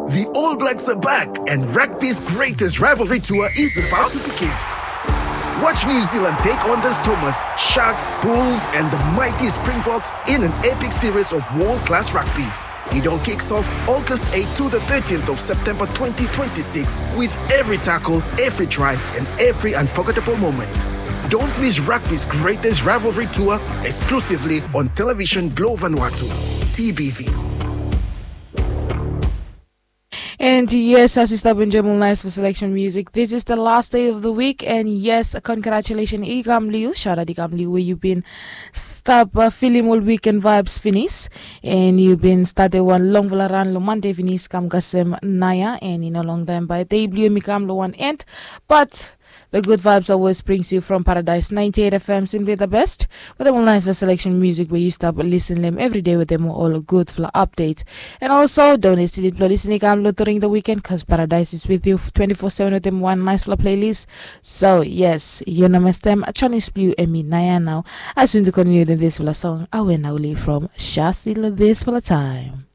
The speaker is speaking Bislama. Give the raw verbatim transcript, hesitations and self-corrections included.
The All Blacks are back, and rugby's greatest rivalry tour is about to begin. Watch New Zealand take on the Stormers, Sharks, Bulls, and the mighty Springboks in an epic series of world class rugby. It all kicks off August eighth to the thirteenth of September twenty twenty-six, with every tackle, every try, and every unforgettable moment. Don't miss rugby's greatest rivalry tour, exclusively on television Globe Vanuatu, T B V. And yes, as you stop enjoying nice for selection music, this is the last day of the week. And yes, congratulations, Igam Liu. Shout out Igam Liu, where you been stop uh, feeling all weekend vibes finish. And you been started one long vela run lo Monday finish kam kasem naya. And in a long time by day blue mi kam lo one end. But the good vibes always brings you from Paradise ninety-eight F M, simply the best. With them nice for selection music where you stop listening them every day with them all good for update. And also, don't listen it, listen it, come during the weekend because Paradise is with you twenty-four seven with them one nice little playlist. So, yes, you know, my stem, Chinese Blue, Emi, Naya now. As soon to continue this for a song, I will now leave from Shasil this for a time.